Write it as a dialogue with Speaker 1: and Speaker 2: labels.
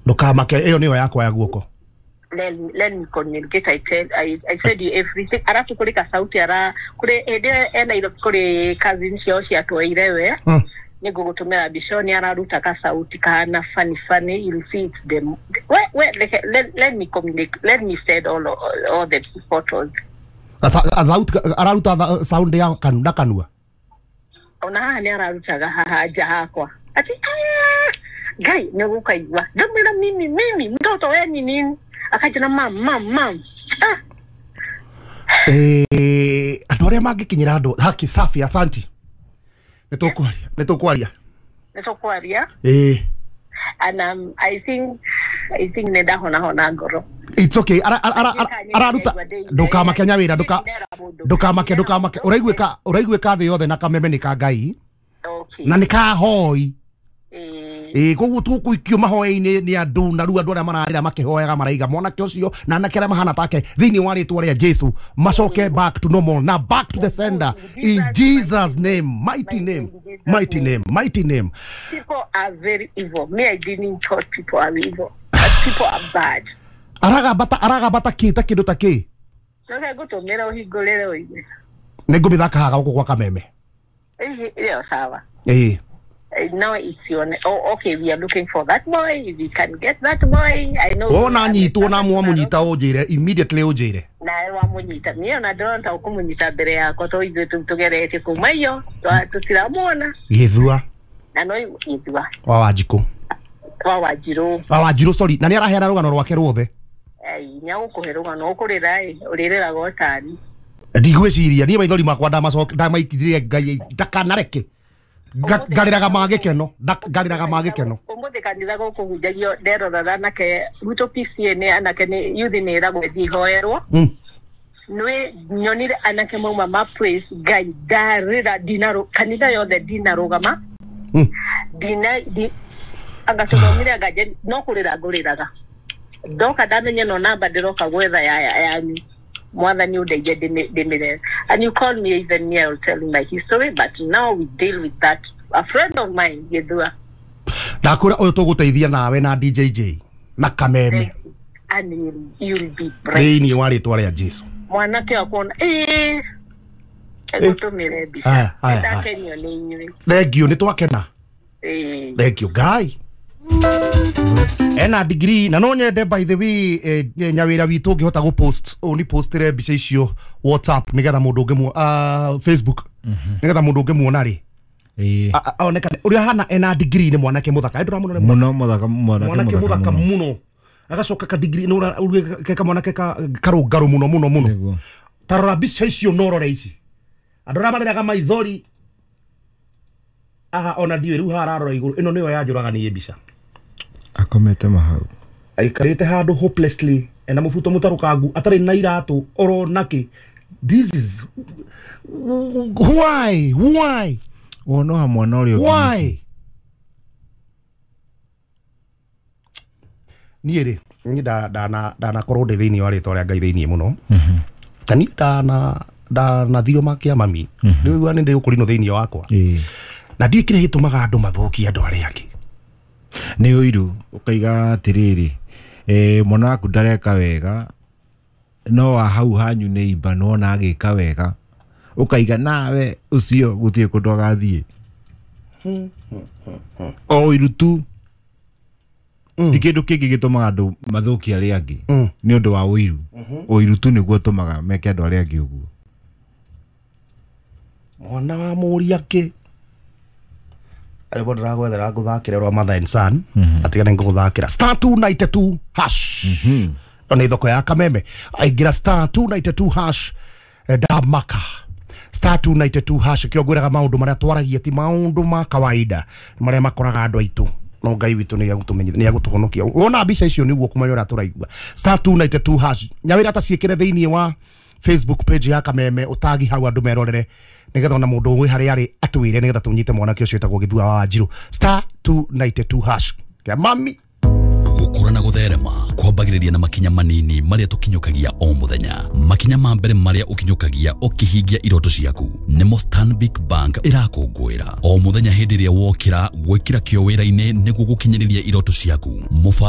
Speaker 1: Ndũkamake, ĩyo nĩyo yakwa ya guoko.
Speaker 2: Let me communicate. I tell I said you everything. Arafu kuri ka sauti ara kuri ende ena iro kuri cousin ciao ciatwaire we. Nĩ ngũgũtũmĩra mbica nĩ araruta ka sauti kahana funny funny, you'll see it's them. We let me communicate, let me send all the photos.
Speaker 1: Araruta sound ya na kanua.
Speaker 2: Ona haha nĩ ararutaga haha nja hakwa ati Ngai nĩ gũkaigua ndamwĩra mimi mtoto we ni nini, akanjĩra mam mam mam.
Speaker 1: Andũ arĩa mangĩkinyĩra andũ haki safi, asante. Nĩ tũkwaria.
Speaker 2: And I think nĩ ndahona hona ngoro.
Speaker 1: It's okay. Araruta ndũkamake Nyawĩra, ndũkamake ũraiguĩka thĩ yothe na kameme nĩ ka Ngai.
Speaker 2: Okay.
Speaker 1: Na nĩ ka hoi. Koguo tũgũikio mahoya-inĩ nĩ andũ na rĩu andũ arĩa mararĩra makĩhoyaga maraiga mwanake ũcio na anake arĩa mahana take thĩinĩ wa rĩtwa rĩa Jesu macoke back to normal na back to the sender in Jesus name, mighty name, mighty name, mighty name.
Speaker 2: People are very evil. Me, I didn't thought people are evil, but people are bad.
Speaker 1: Aragamba ta kĩ ta kĩndũ ta kĩ?
Speaker 2: Coka ngũtũmĩra ũhingũrĩre ũigue.
Speaker 1: Nĩ ngũmĩthaka haha gũkũ gwa kameme.
Speaker 2: Ĩyo sawa. Now it's your oh, okay, we are looking for that boy. If we can get that boy, I know.
Speaker 1: Wona nyitwo na mwamunyita unjire immediately unjire.
Speaker 2: Na wamunyita niĩ ona ndĩrona ũkũmũnyita mbere yakwa to ithuĩ tũgeretie kuma iyo tũtiramuona.
Speaker 1: Gĩthua.
Speaker 2: Na no Gĩthua.
Speaker 1: Wa Wanjikũ.
Speaker 2: Wa Wanjirũ.
Speaker 1: Wa Wanjirũ, sorry. Na nĩ araheana rũgano rwake ruothe.
Speaker 2: Ai, nya gũkũhe rũgano ũkũrĩra ĩ, ũrĩrĩraga ũtani.
Speaker 1: Ndigwĩciria niĩ maithori makwa ndamacoka ndamaitithirie Ngai ndakanareke. Ngarĩraga ma gĩkeno, ngarĩraga ma gĩkeno.
Speaker 2: Ũmũthĩ kanitha gũkũhunjagio nderorera anake gwitũ PCA nĩ anake nĩ youth nĩ ĩragwo ĩthiĩ ihoerwo. Nĩ nyonire anake mauma ma praise Ngai ndarĩra ndinarũ kanitha yothe ndinarũgama. Ndina anga tũthomire anga no kũrĩra ngũrĩraga. Ndoka ndamenya no namba ndĩroka gwetha ya yanyu. Mwathani ũndeithie ndĩmĩre. And you call me even me, I will tell you my history, but now we deal with that. A friend of mine, Gĩthua.
Speaker 1: Ndakwĩra ũyũ tũgũteithia nawe na DJJ na kameme.
Speaker 2: And you'll be bright.
Speaker 1: Thĩinĩ wa rĩtwa rĩa Jesu.
Speaker 2: Mwanake akuona ngũtũmĩre mbica. Ndakenio nĩ inyuĩ.
Speaker 1: Thank you, nĩ twakena. Thank you, Ngai. Ena degree na no nyende by the way Nyawĩra witũ ũngĩhota gũ post ni postire mbica icio WhatsApp nĩgetha mũndũ ũngĩ Facebook nĩgetha mũndũ ũngĩmuona rĩ onekane ũrĩa hana ena degree nĩ mwanake mũthaka ndũramuona
Speaker 3: mũno mũthaka mwanake
Speaker 1: mũthaka mũno agacoka ka degree nĩ ka mwanake karũngarũ mũno mũno mũno tarora mbica icio no rore ici andũ arĩa marĩraga maithori aha ona ndiũĩ rĩu hararora igũrũ ĩno nĩyo yanjũraga niĩ mbica
Speaker 3: akomete mahau
Speaker 1: aikarĩte handũ hopelessly ena mũbuto mũtarũkangu atarĩ na iratũ oro nakĩ. This is why
Speaker 3: wonoha mwana ũrĩa
Speaker 1: why niĩ rĩ niĩ ndanakorwo ndĩ thĩinĩ wa rĩtwa rĩa Ngai thĩinĩ mũno ta niĩ ndanathiro makia mami rĩu nĩ ndĩ ũkũrinũ thĩinĩ wakwa na ndiũĩ kĩrĩa gĩtũmaga andũ mathũkie andũ arĩa angĩ
Speaker 3: nĩ ũiru ũkaiga atĩrĩrĩ mwana waku ndareka wega no wa hau hanyu nĩ imba nĩwona agĩka wega ũkaiga nawe ũcio gũtirĩ kũndũ agathiĩ o ũiru tu ti kĩndũ kĩngĩ gĩtũmaga andũ mathũkie arĩa angĩ nĩ ũndũ wa ũiru ũiru tu nĩguo ũtũmaga meke andũ arĩa angĩ ũguo
Speaker 1: mwana wa mũriake arĩbo ndĩragwethera ngũthakĩre rwa mother and son atigane ngũgũthakĩra star 292 hash ĩno nĩ thoko ya kameme aingĩra star 292 hash ndamaka star 292 hash kĩo ngwĩraga maũndũ marĩa twaragia ti maũndũ ma kawaida marĩa makoraga andũ aitũ no Ngai witũ nĩ egũtũmenyithia nĩ egũtũhonokia wona mbica icio nĩguo kũmenya ũrĩa tũraigua star 292 hash Nyawĩra ta ciĩkĩre thĩinĩ wa Facebook page ya kameme ũtagi hau andũ merorere nĩgetha ona mũndũ wĩ harĩa arĩ atwĩre nĩgetha tũnyite mwanake ũcio wĩtagwo Gĩthua wa Wanjirũ star 292 hash kĩa mami.
Speaker 4: Gũkũra na gũtherema kwambagĩrĩria na makinya manini marĩa tũkinyũkagia o mũthenya. Makinya ma mbere marĩa ũkinyũkagia ũkĩhingia iroto ciaku nĩmo Stanbic Bank ĩrakũngũĩra o mũthenya hĩndĩ ĩrĩa wokĩra gwĩkĩra kĩo wĩra-inĩ nĩguo gũkinyĩrĩria iroto ciaku.